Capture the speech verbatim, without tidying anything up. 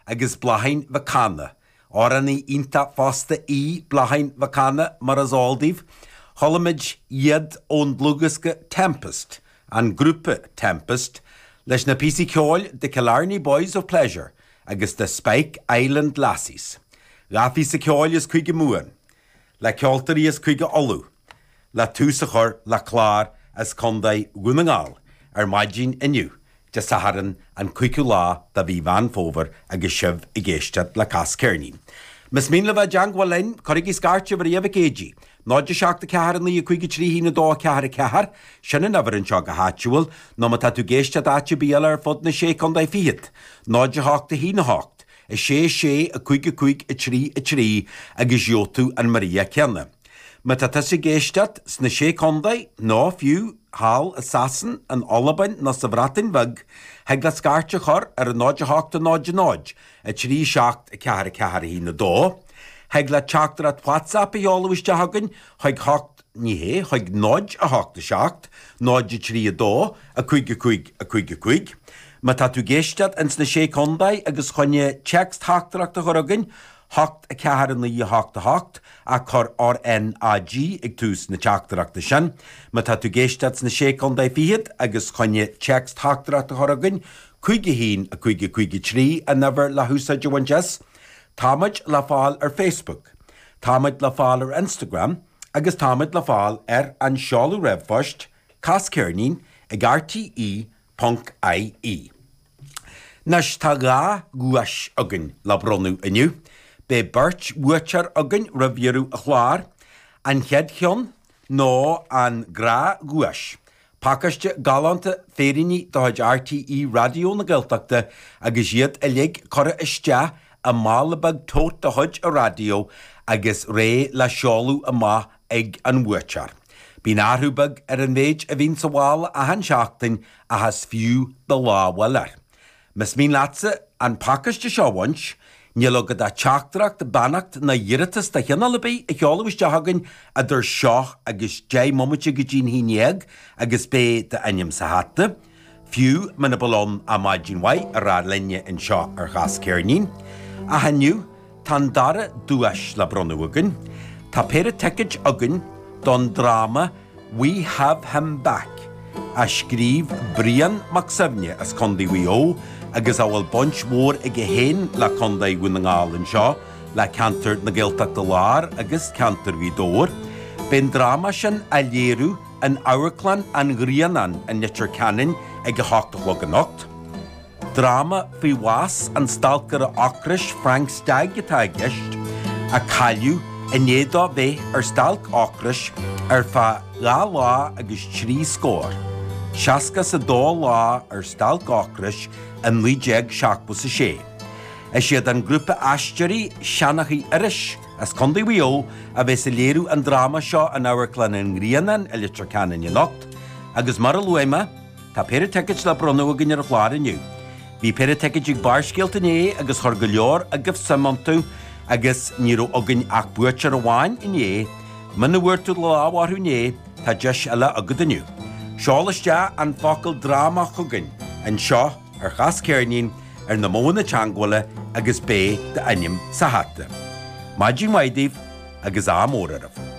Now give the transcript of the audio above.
agus Bláithín Mhic Cana. Amhránaí iontach fosta í Bláithín Mhic Cana mar is eol daoibh. Chuala muid iad ón dlúthdhiosca Tempest, an grúpa Tempest, leis na píosaí ceoil The Killarney Boys of Pleasure agus The Spike Island Lassies. Dhá phíosa ceoil as Cúige Mumhan, le ceoltóirí as Cúige Uladh, le tús a chur le clár as Contae Dhún na nGall ar maidin inniu, Dé Sathairn an cúigiú lá de mhí Mheán Fómhair agus sibh ag éisteacht le Cas Ceirnín. Más mian libh a bheith i dteangmháil linn, cuirigí scairteadh ar Mhic Éadaigh, náid a seacht a ceathair a naoi a cúig a trí haon a dó a ceathair a ceathair, sin an uimhir anseo go háitiúil, nó má tá tú ag éisteacht áit ar bith eile ar fud na sé contae fichead, náid a hocht a haon a hocht, a sé a sé a cúig a cúig a trí a trí agus gheobhaidh tú an Maria céanna. Má tá tusa ag éisteacht sna Sé Contae, nó fiú thall i Sasain, in Albain nó sa Bhreatain Bheag, thig leat scairt a chur ar a náid a hocht a náid a náid, a trí seacht a ceathair a ceathair a haon a dó. Thig leat teachtaireacht WhatsApp a sheoladh isteach chugainn chuig hocht, ní hé, chuig náid a hocht a seacht, náid a trí a dó, a cúig a cúig a cúig a cúig. Má tá tú ag éisteacht ins na Sé Contae agus chun téacs-theachtaireacht a chur chugainn, hocht a ceathair a naoi a hocht a hocht, ach cuir R N A G ag tús na teachtaireachta sin. Má tá tú ag éisteacht sna Sé Contae Fichead agus chun téacs-theachtaireacht a chur chugainn, cúig a haon a cúig a cúig a trí an uimhir le húsáid a bhaint as. Táimid le fáil ar Facebook, táimid le fáil ar Instagram agus táimid le fáil ar an seoladh ríomhphoist casceirnín ag R T E ponc I E. Anois tá dhá dhuais againn le bronnadh inniu. Beidh beirt bhuaiteoir againn roimh dheireadh an chláir. An chéad cheann ná an gnáthdhuais, pacáiste galánta féiríní de chuid R T E Raidió na Gaeltachta agus iad uilig curtha isteach i mála beag tote de chuid an raidió agus réidh le seoladh amach ag an bhuaiteoir. Bíonn athrú beag ar an mhéid a bhíonn sa mhála achan seachtain ach is fiú do lámh a fháil air. Más mian leatsa an pacáiste seo a bhaint, níl agat ach teachtaireacht, beannacht ná iarratas de chineál ar bith a sheoladh isteach chugainn idir seo agus deich mbomaite go dtí'n haon dhéag agus beidh d'ainm sa hata. Fiú muna bhfuil ann ach maidin mhaith a rá linne anseo ar Chas Ceirnín. Ach inniu, tá an dara duais le bronnadh againn. Tá péire ticéid againn don dráma We Have Him Back, a scríobh Brian Mac Suibhne as Contae Mhaigh Eo agus a bhfuil baint mhór aige féin le Contae Dhún na nGall anseo, le ceantar na Gaeltachta Láir agus ceantar Ghaoth Dobhair. Beidh an dráma sin á léiriú in Amharclann an Ghrianáin i Leitir Ceanainn ag a hocht a chlog anocht. Dráma faoi bhás an stalcaire ocrais Frank Stagg atá i gceist, a cailleadh i ndiaidh dó bheith ar stailc ocrais ar feadh dhá lá agus trí scór, seasca is a dó lá ar stailc ocrais i naoi déag seachtó is a sé. Is iad an grúpa aisteoirí Seanchaí Iorrais as Contae Mhaigh Eo a bheas ag léiriú an dráma seo in Amharclann an Ghrianáin i Leitir Ceanainn anocht, agus mar a luaigh mé, tá péire ticéid le bronnadh againn ar an chlár inniu. Bhí péire ticéid ag Barrscéalta inné agus chuir go leor agaibh suim iontu agus ní raibh againn ach buaiteoir amháin inné. Muna bhfuair tú do lámh orthu inné, tá deis eile agat inniu. Seol isteach an focal dráma chugainn anseo ar Chas Ceirnín ar na modhanna teagmhála agus beidh d'ainm sa hata. Maidin mhaith daoibh agus ádh mór oraibh.